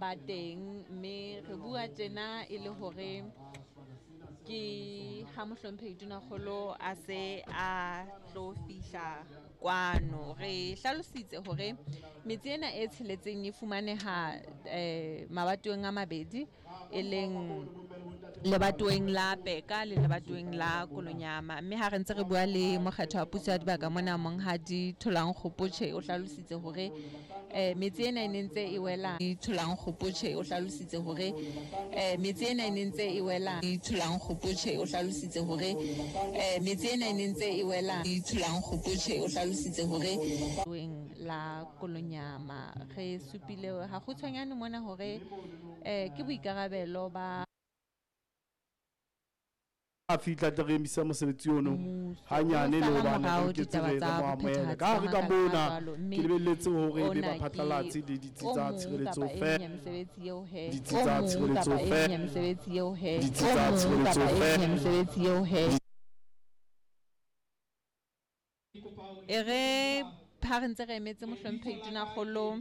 ba teng, mme re bua tjena e le hore ke ha mohlomphehi Tonakgolo a se a tlo fihla kwano. Re hlalositse hore metse ena e tsheletseng e fumaneha mabatoweng a mabedi, e leng lebatoweng la Peka le lebatoweng la Kolonyama. Mme ha re ntse re bua le mokgetho wa puso ya dibaka mona, Monghadi Tholang Kgopotjhe, o hlalositse hore metse ena e ne ntse e wela. Tholang Kgopotjhe o hlalositse hore metse ena e ne ntse e wela. Tholang Kgopotjhe o hlalositse hore metse ena e ne ntse e wela. Tholang Kgopotjhe o hlalositse hore la Kolonyama. Re supile ha kgutshwanyane mona hore ke boikarabelo ba a fihla tle re emisa mosebetsi ono hanyane le hobane re loketse re mo amohele. Ka hare ka mona ke lebelletse hore ebe baphatlalatsi le ditsi tsa tshireletso feela, ditsi tsa tshireletso feela, ditsi tsa tshireletso feela. E re ha re ntse re emetse mohlomphehi Tonakgolo,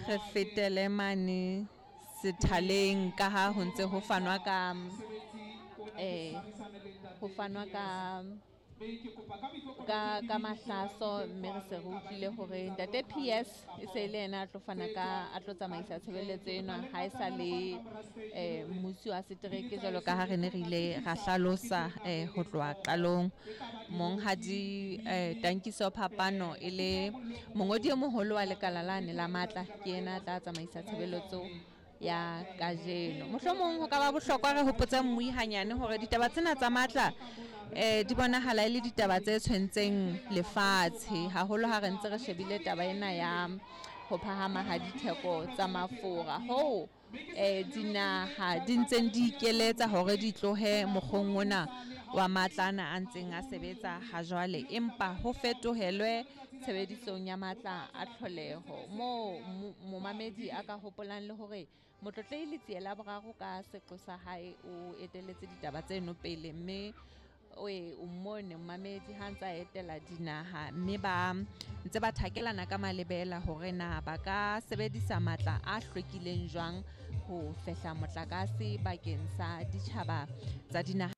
re fetele mane sethaleng ka ha ho ntse ho fanwa ka ho fanwa ka mahlaso, mme re se re utlwile hore ntate PS e se le yena a tlo fana ka a tlo tsamaisa tshebeletso ena ha e sa le mmusi wa setereke jwalo ka ha re ne re ile ra hlalosa ho tloha qalong. Monghadi Tankiso Phapano e le mongodi e moholo wa lekala lane la matla, ke yena a tla tsamaisa tshebeletso ya kajeno. Mohlomong ho ka ba bohlokwa re hopotse mmui hanyane hore ditaba tsena tsa matla di bonahala e le ditaba tse tshwentseng lefatshe haholo ha re ntse re shebile taba ena ya ho phahama ha ditheko tsa mafura, hoo dinaha di ntseng di ikeletsa hore di tlohe mokgong ona wa matla ana a ntseng a sebetsa ha jwale, empa ho fetohelwe tshebedisong ya matla a tlholeho. Moo momamedi a ka hopolang le hore Motlotlehi Letsie la Boraro ka seqo sa hae o eteletse ditaba tseno pele, mme o mmone momamedi ha ntse a etela dinaha, mme ba ntse ba thakelana ka malebela hore na ba ka sebedisa matla a hlwekileng jwang ho fehla motlakase bakeng sa ditjhaba tsa dinaha.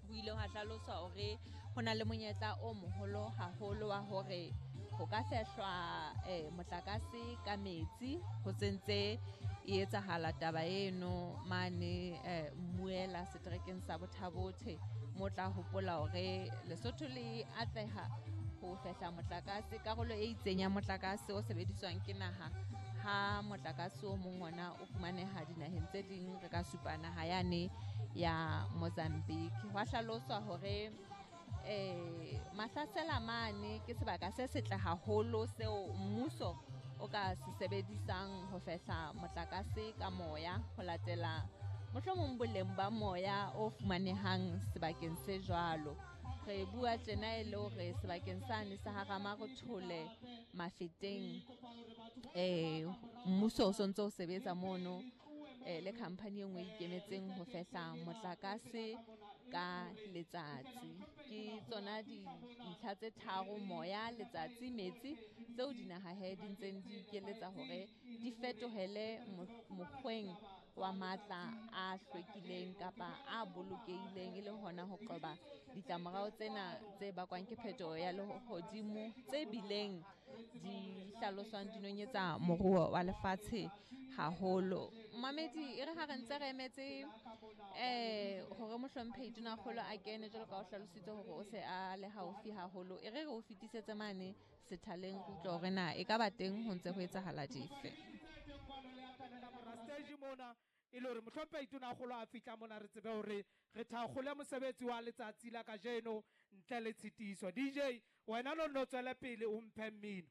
Ho ile hwa hlaloswa hore ho na le monyetla o moholo haholo wa hore ho ka fehlwa motlakase ka metsi, ho sentse e etsahala taba eno mane Mmuela seterekeng sa Bothabothe, mo tla hopola hore Lesotho le atleha ho fehla motlakase, karolo e itseng ya motlakase o sebediswang ke naha, ha motlakase o mong ona o fumaneha dinaheng tse ding, re ka supa naha yane ya Mozambique. Hwa hlaloswa hore Mahlasela mane ke sebaka se setle haholo seo mmuso o ka se sebedisang ho fehla motlakase ka moya, ho latela mohlomong boleng ba moya o fumanehang sebakeng se jwalo. Re bua tjena e le hore sebakeng sane sa ha Ramarothole Mafeteng, mmuso o sontso o sebetsa mono le company e nngwe e ikemetseng ho fehla motlakase ka letsatsi. Ke tsona dintlha tse tharo, moya, letsatsi, metsi, tseo dinaha he di ntseng di ikeletsa hore di fetohele mokgweng wa matla a hlwekileng kapa a bolokehileng, e le hona ho qoba ditlamorao tsena tse bakwang ke phetoho ya lehodimo tse bileng di hlaloswang di nonyetsa moruo wa lefatshe haholo. Mamedi, e re ha re ntse re emetse hore mohlomphehi Tonakgolo a kene, jwalo ka o hlalositse hore o se a le haufi haholo, e re re o fetisetse mane sethaleng re utlwe hore na e ka ba teng ho ntse ho etsahala dife. E le hore mohlomphehi Tonakgolo a fihla mona re tsebe hore re thakgole mosebetsi wa letsatsi la kajeno ntle le tshitiso. DJ, wena no nno tswele pele o mphe mmino.